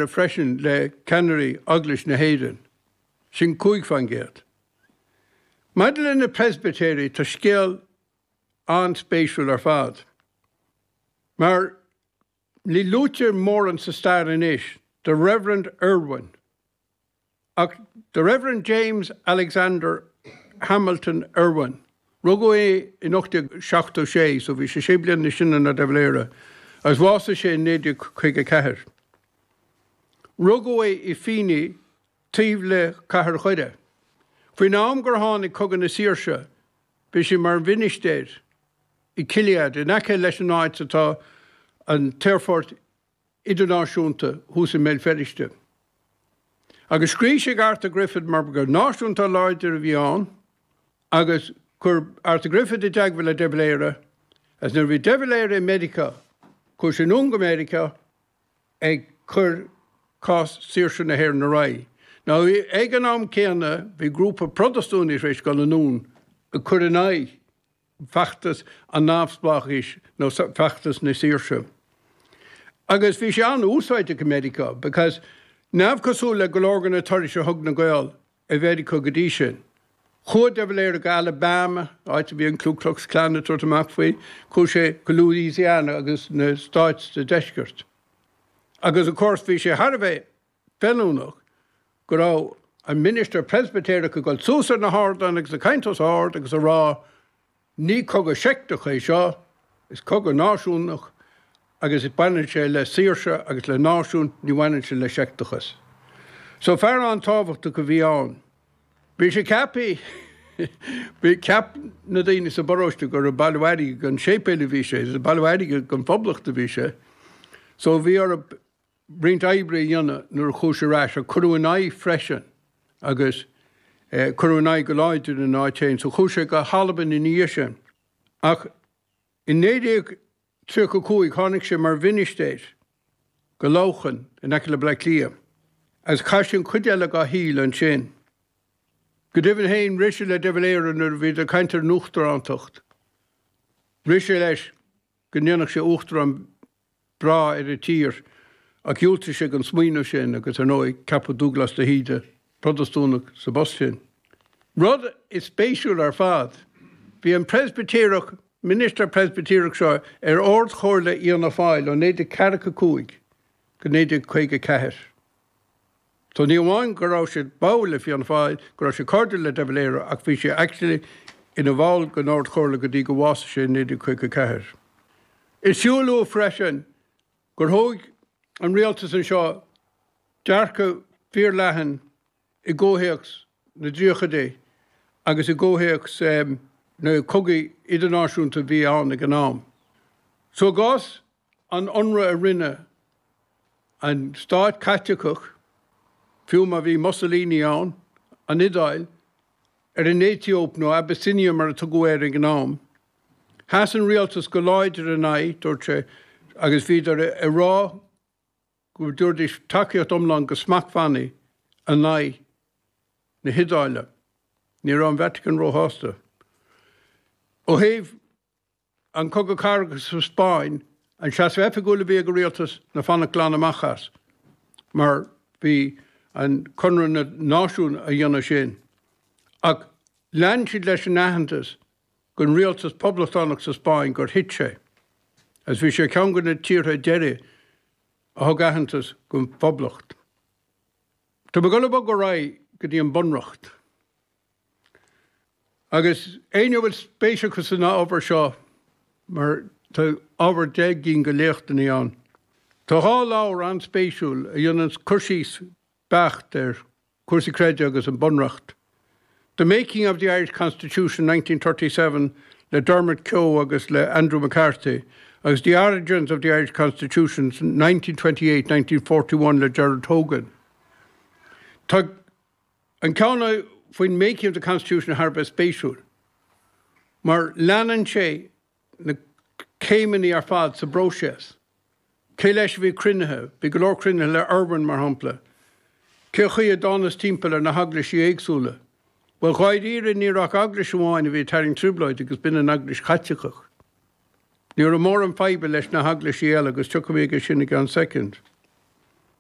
freisin le ceannairí Eaglais na hÉireann, sin 5%. Maidir le na Preispitéirigh, tá scéal an-spéisiúil ar fad. Mar ní luaitear mórán sa stair anois The Reverend Irwin. Ach The Reverend James Alexander Hamilton Irwin, rugadh é in 1876, so bhí sé sé bliana níos sine ná De Valera, agus bhásaigh sé in 1954. Rugadh é i Fíní, taobh le Cathair Dhoire. Faoin am gur tháinig Cogadh na Saoirse, bhí sé mar mhinistéir i Killead, in aice leis an áit atá an t-aerfort idirnáisiúnta thuas i mBéal Feirste. Agus scríobh sé ag Arthur Griffith mar gur náisiúntóir láidir a bhí ann agus chuir Arthur Griffith i dteagmháil le De Valera agus nuair a bhí De Valera i Meiriceá chuaigh sé anonn go Meiriceá ag cur cás saoirse na hÉireann ar aghaidh. Now ag an am céanna bhí grúpa Protastúnaigh tar éis dul anonn ag cur in aghaidh feachtas an neamhspleáchais nó feachtas na saoirse. Agus bhí sé an-úsáideach i Meiriceá because neamhchosúil le go leor de na turais a thug na Gaeil i Mheiriceá go dtí sin, chuaigh de Valera go Alabama, áit a bhí an Ku Klux Klan ag tabhairt amach faoi, chuaigh sé go Louisiana agus na stáit sa deisceart. Agus of course bhí sé thar a bheith feiliúnach go raibh an ministir Preispitéireach ag dul suas ar na hardáin agus ag caint os ard agus ag rá ní cogadh seicteach é seo, is cogadh náisiúnach agus baineann sé le saoirse agus le náisiún, ní bhaineann sé le seicteachas. So fear an-tábhachtach a bhí ann. Bhí sé ceaptha, bhí, cheap na daoine sa bparóiste gur ag bailiú airgid don séipéal a bhí sé, is ag bailiú airgid don phoblacht a bhí sé. So bhí orthu roinnt oibre a dhéanamh nuair a chuaigh sé ar ais, ach cuireadh ina aghaidh freisin agus cuireadh ina aghaidh go láidir ina áit féin. So chuaigh sé go hAlbain ina dhiaidh sin. Ach i 1935 tháinig sé mar mhinistéir go Lochan in aice le Bleá Cliath agus chaith sé an chuid eile dá shaol ansin. Go deimhin féin, rith sé le De Valera nuair a bhíodar ag caint ar an uachtarántacht. Rith sé leis go ndéanfadh sé uachtarán breá ar an tír, ach dhiúltaigh sé don smaoineamh sin agus, ar ndóigh, ceapadh Dúghlás de hÍde, Protastúnach, sa bpost sin. Rud is spéisiúil ar fad, bhí an Preispitéireach, ministir Preispitéireach seo ar Ard-Chomhairle Fhianna Fáil ó 1945 go 1954. So ní amháin go raibh sé báúil le Fianna Fáil, go raibh sé cairdiúil le De Valera ach bhí sé actually ina bhall den Ard-Chomhairle go dtí go bhásaigh sé in 1954. Is fiú a lua freisin gur thóg an rialtas anseo dearcadh fíorleathan i gcomhthéacs na dtríochaidí agus i gcomhthéacs na cogaí idirnáisiúnta a bhí ann ag an am. So i gcás an ionradh a rinne an stát Caitliceach, fiú má bhí Mussolini ann, an Iodáil, ar an Aetóip nó Abyssinia mar a tugadh air ag an am. Sheas an rialtas go láidir ina aghaidh, dúirt sé, agus bhíodar ag rá go dtabharfaidís tacaíocht iomlán go smachtbhannaí in aghaidh na hIodáile. Ní raibh an Vatican róshásta. Ó thaobh An Cogadh Cathartha sa Spáinn, an seasamh oifigiúil a bhí ag an rialtas ná fanacht glan amach as, mar bhí an Conradh na Náisiún a dhéanamh sin. Ach lean siad leis an aitheantas don rialtas poblachtánach sa Spáinn gur thit sé, agus bhí sé ar cheann de na tíortha deiridh a thug aitheantas don phoblacht. Tá mé ag dul ag bogadh ar aghaidh go dtí an Bunreacht. Agus éinne a bhfuil spéis acu san ábhar seo, mar tá ábhar 10 gcinn de léachtanna ann, tá 2 leabhar an-spéisiúil a dhéanann cur síos beacht ar chúrsaí creidimh agus an Bunreacht, The Making of the Irish Constitution 1937 le Dermot Keogh agus le Andrew McCarthy agus The Origins of the Irish Constitution 1928, 1941 le Gerard Hogan. Tá An ceann faoin Making of the Constitution thar a bheith spéisiúil, mar leanann sé na céimeanna ar fad sa bpróiseas. Cé leis a bhí cruinnithe? Bhí go leor cruinnithe le Irwin, mar shampla. Cé chaoi a dtánas timpeall ar na heaglaisí éagsúla? Bhuel, dháiríre, ní raibh ach eaglais amháin a bhí ag tarraingt trioblóid agus b'in an Eaglais Chaitliceach. Ní raibh mórán faidhbe leis na heaglaisí eile agus tiocfaidh mé aige sin i gceann soicind.